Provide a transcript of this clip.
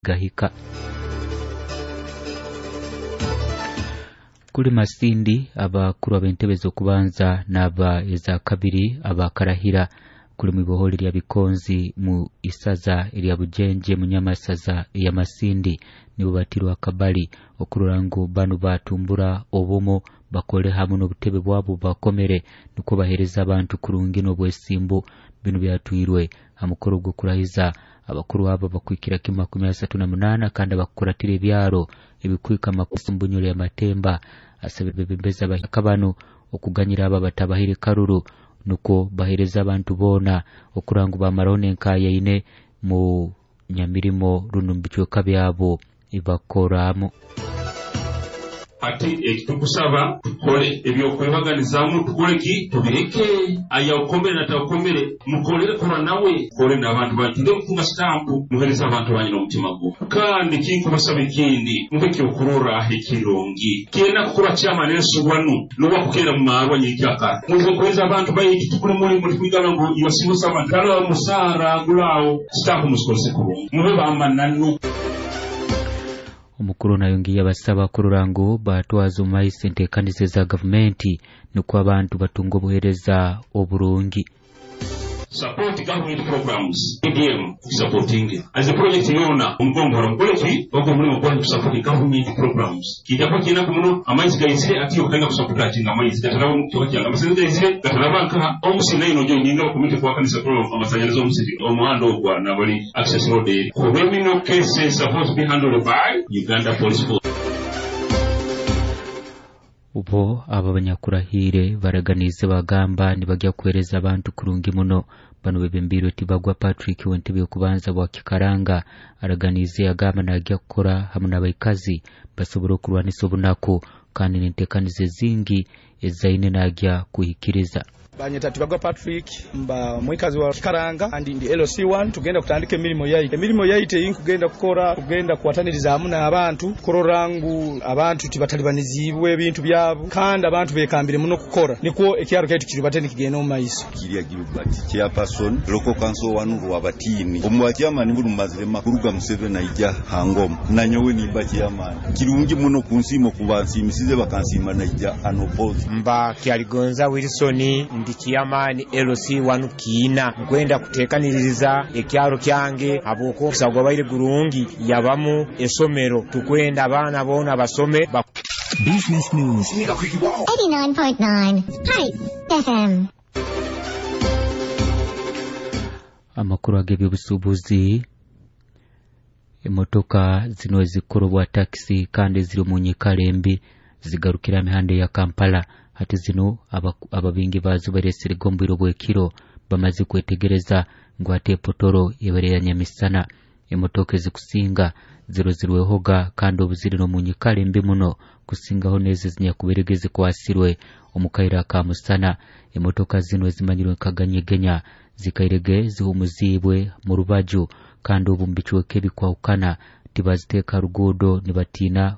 Gahika. Kuli Masindi, abakuru ab'entebe z'okubanza n'aba eza kabiri abakarahira kuli mwiboholi lya Bikonzi mu isaza erya Bujenje mu Nyamasaza eya Masindi nibo batirwe akabali okurora ngu banu batumbura obumu, bakole hamu n'obutebe bwabo bakomere nukwo bahereza abantu kurungi n'obwesimbu. Binu byatwirwe ha mukoro gw'okurahiza abakuru abo bakwikira kimu 38 kandi abakukuratira ebyaro ebikwika makumbunyuro ya Matemba. Asaba bebembezi abakabano okuganyira abo abatabahire karuru nukwo bahereza abantu boona okuranga bamaraho n'enkayaine mu nyamirimo runo mu bicweka byabo ibakoramu. Ati ekitukusaba tukole ebyokwebaganizamu, tukole ki tubireke. Ayaukomere nataukomere mukolere, kora nawe, kole n'abantu banyu, tugende kutunga sitampu, muhereze abantu banyu n'omutima gwo. Kandi kinkubasaba ekindi, mube ekyokurorraho ekirungi. Kyenda kukuba chairman ensubwanu n'owakukera mu marwa nyikyakara muze kuhereza abantu baitu, tukule mulimu tukwigana ngu you are civil servant kala musaara gulaawo, sitampu muzikozese kurungi, mube bamananu. Omukuru nayongiye abasaba kurora ngu batwaza omu maiso enteekaniza za gavumenti nukwo abantu batunga obuheereza oburungi. Support government programs, EDM supporting as a project yona omugombora mukole ki ogwo omulimu gwanyu support government programs. Kijja kuba kinaku muno amaizi gaizire ati okutanga kusapota kinga amaizi gataraba mu kyoka kyange, amasanyalaze gaizire gataraba nkaha omusi nayo nojo nyinga community kwa kanisa pro amasanyalaze omusiri omuhanda ogwa nabali access road eri. Criminal cases supposed to be handled by Uganda Police Force. Ubo abo abanyakurahiire baraganize bagamba nibajya kuhereza abantu kurungi muno. Bano bebembirwe Tibagwa Patrick w'entebe y'okubanza bwa Kikaranga araganize agamba najya kukora hamu n'abaikazi basobora okurwanisa obunaku kandi n'enteekaniza ezingi ezaine najya kuhikiriza. Banyeta Tibagwa Patrick, mba mwikazi wa Kikaranga kandi ndi LC1. Tugenda kutandika emirimo yaitu. Emirimo yaitu eyinkugenda kukora, kugenda kuwataniriza hamu n'abantu kurora ngu abantu tibatalibanizibwe ebintu byabo kandi abantu bekambire muno kukora nikwo ekyaro kyaitu kiribate nikigenda omu maiso. Kirya Gilbert, chairperson local council wanu Rwabatini. Omu chairman buli mumazire makuruga Museveni aija hangoma nanyowe nimba chairman. Kirungi muno kunsiima okuba nsiimisize bakansiima naija unopposed. Mba Kyaligonza Wilson, ndi chairman LC1 Kiina. Nkwenda kuteekaniriza ekyaro kyange habwokuba omukisa gwabaire gurungi yabamu esomero, tukwenda abaana boona basome. Business News 89.9 Hype FM. Amakuru ag'ebyobusuubuzi, emotoka zino ezikorobwa takisi kandi ziri omu nyikara embi zigarukira mihanda ya Kampala. Hati zino ababingi bazo baresirega omu bwire bw'ekiro bamaze kwetegereza ngu hati epotoro ebere ya nyamisana. Emotoka ezikusinga ziro zirwehoga kandi obu ziri n'omu nyikara embi muno kusingaho n'ezo ezinyakuberege zikwasirwe omu kaire aka musana. Emotoka zino ezimanyirwe nka ganyegenya zikairege zihumuziibwe mu rubaju kandi obu mu bicweka ebikwahukana tibaziteeka ruguudo nibatiina.